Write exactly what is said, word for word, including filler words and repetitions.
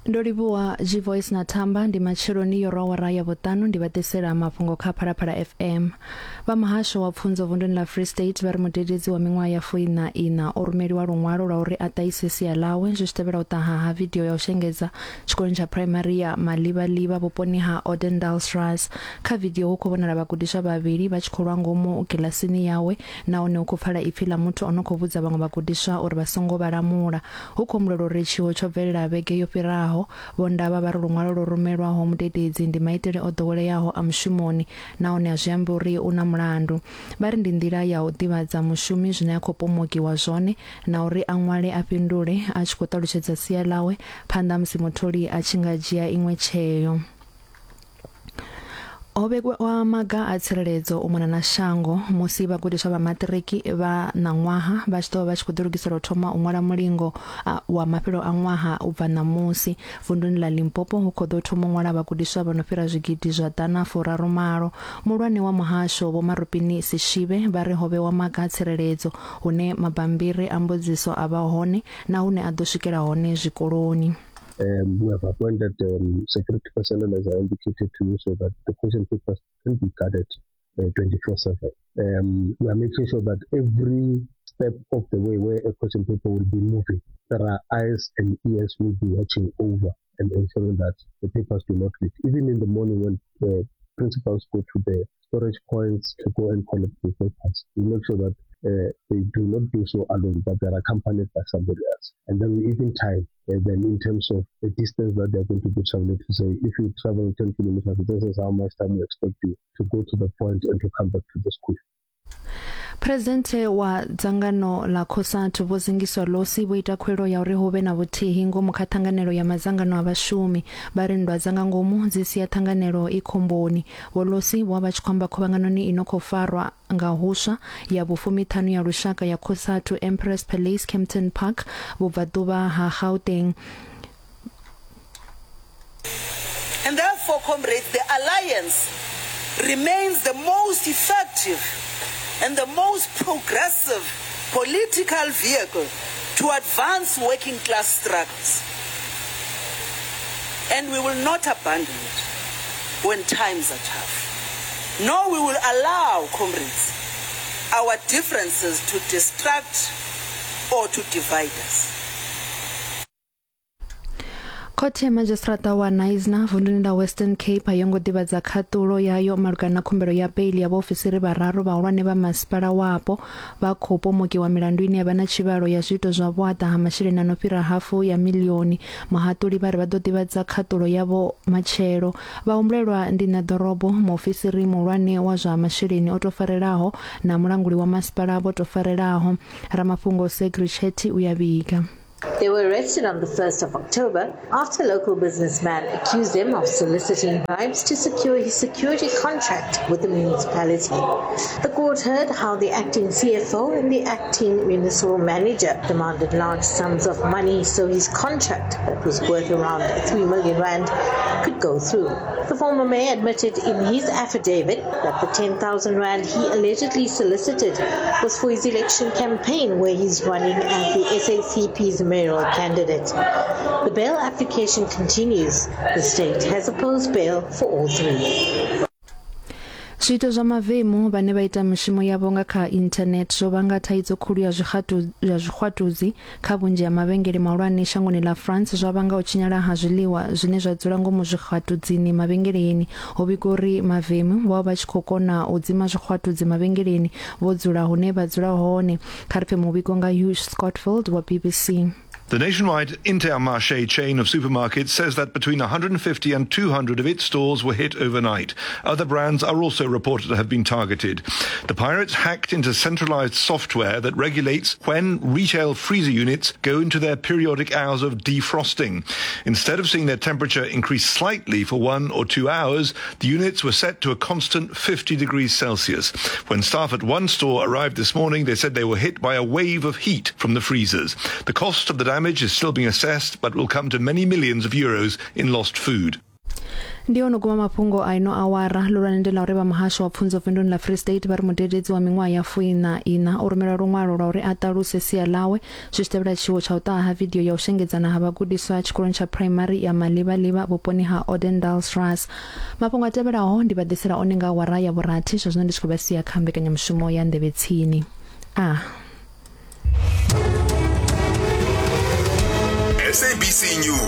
Ndo livhuwa G-Voice na Thamba. Ndi matsheloni yo awara ya vhuṱanu, ndi vha ḓisela mafhungo kha Phalaphala F M. Vha muhasho wa pfunzo vunduni ḽa Free State vha ri mudededzi wa miṅwaha ya fuiṋa ina o rumeliwa luṅwalo lwa uri a ṱahise sia ḽawe zwi tshi tevhela u ṱaha ha vidio ya u shengedza tshikoloni tsha phuraimari ya Malivhaliva vhuponi ha Odendaalsrus. Kha vidio hu khou vhonala vhagudiswa vhavhili vha tshi khou lwa ngomu kiḽasini yawe, nahone hu khou pfala ipfi ḽa muthu o no khou vhudza vhaṅwe vhagudiswa uri vha songo vha lamula. Hu khou humbulelwa uri tshiwo tsho bvelela vhege yo fhiraho. Vho Ndaba vha ri luṅwalo lwo rumelwaho mudededzi ndi maitele o ḓoweleaho a mushumoni, nahone a zwi ambi uri u na mulandu. Vha ri ndi nḓila ya u ḓivhadza mushumi zwine a khou pomokiwa zwone na uri a ṅwale a fhindule a tshi khou ṱalutshedza sia ḽawe phanḓa musi mutholi a tshi nga dzhia iṅwe tsheo. Ho vhewa maga a tsireledzo u mona na shango musi vhagudiswa vha maṱiriki vha ṋaṅwaha vha tshi ḓo vha vha tshi khou ḓilugisela u thoma u ṅwala mulingo wa mafhelo a ṅwaha u bva ṋamusi. Vunduni ḽa Limpopo hu khou ḓo thoma u ṅwala vhagudiswa vha no fhira zwigidi zwa ḓana furaru malo. Muhulwane wa muhasho Vho Marupini Sishibe vha ri ho vhewa maga a tsireledzo hune mabambiri a mbudziso a vha hone na hune a ḓo swikela hone zwikoloni. Um, we have appointed um, security personnel, as I indicated to you, so that the question papers can be guarded uh, twenty-four seven. Um, we are making sure that every step of the way where a question paper will be moving, there are eyes and ears will be watching over and ensuring that the papers do not leak. Even in the morning when the principals go to the storage points to go and collect the papers, we make sure that uh, they do not do so alone, but they're accompanied by somebody else. And then we even time uh, them in terms of the distance that they're going to be traveling, to say, if you travel ten kilometers, this is how much time we expect you to go to the point and to come back to the school. Presidenthe wa dzangano ḽa COSATU Vho Zingiswa Losi vho ita khuwelelo ya uri hu vhe na vhuthihi ngomu kha ṱhanganelo ya madzangano a vhashumi. Vha ri nndwa dza nga ngomu dzi sia ṱhanganelo i khomboni. Vho Losi vho vha vha tshi khou amba khuvhanganoni ino khou farwa nga huswa ya vhufumiṱhanu ya lushaka ya COSATU Empress Palace, Kempton Park, vhubvaḓuvha ha Gauteng. And therefore, comrades, the alliance remains the most effective and the most progressive political vehicle to advance working class struggles. And we will not abandon it when times are tough. Nor we will allow, comrades, our differences to distract or to divide us. Khothe ya madzhisiṱiraṱa wa Knysna vunduni ḽa Western Cape a yo ngo ḓivhadza khaṱulo yayo malugana na khumbelo ya beili ya vhaofisiri vhararu vhahulwane vha masipala wapo vha khou pomokiwa milandu ine ya vha na tshivhalo ya zwiito zwa vhuaḓa ha masheleni a no fhira hafu ya miḽioni. Muhaṱuli vha ri vha ḓo ḓivhadza khaṱulo yavho matshelo. Vhahumbulelwa ndi ṋeḓorobo, muofisiri muhulwane wa zwa masheleni o tou farelaho na mulanguli wa masipala vho tou farelaho. Ramafhungo Segri Chetty u ya vhiga. They were arrested on the first of October after a local businessman accused them of soliciting bribes to secure his security contract with the municipality. The court heard how the acting C F O and the acting municipal manager demanded large sums of money so his contract, that was worth around three million rand, could go through. The former mayor admitted in his affidavit that the ten thousand rand he allegedly solicited was for his election campaign, where he's running as the S A C P's mayoral candidate. The bail application continues. The state has opposed bail for all three. Zwiito zwa mavemu vhane vha ita mishumo yavho nga kha internet zwo vhanga thaidzo khulu ya zwixatu ya zwixwatudzi kha vhunzhi ha mavhengele mahulwane shangoni ḽa France, zwa vhanga u tshinyala ha zwiḽiwa zwine zwa dzula ngomu zwixwatudzini mavhengeleni. Ho vhigwa uri mavemu vho vha vha tshi khou kona u dzima zwixwatudzi mavhengeleni vho dzula hune vha dzula hone. Kha ri pfe muvhigo nga Hugh Scotfield wa B B C. The nationwide Intermarché chain of supermarkets says that between one hundred fifty and two hundred of its stores were hit overnight. Other brands are also reported to have been targeted. The pirates hacked into centralized software that regulates when retail freezer units go into their periodic hours of defrosting. Instead of seeing their temperature increase slightly for one or two hours, the units were set to a constant fifty degrees Celsius. When staff at one store arrived this morning, they said they were hit by a wave of heat from the freezers. The cost of the damage is still being assessed, but will come to many millions of euros in lost food. Ndi ono guma mafhungo a ino awara. Lulwane ndi ḽa uri vha muhasho wa pfunzo vunduni ḽa Free State vha ri mudededzi wa miṅwaha ya fuiṋa ina o rumelwa luṅwalo lwa uri a ṱaluse sia ḽawe zwi tshi tevhela tshiwo tsha u ṱaha ha vidio ya u shengedzana ha vhagudiswa tshikoloni tsha phuraimari ya Malivhaliva vhuponi ha Odendaalsrus. Mafhungo a tevhelaho ndi vha ḓisela one nga awara ya vhurathi, zwa zwino ndi tshi khou vha sia kha mbekanyamushumo ya Nḓevhe Tsini. A S A B C News.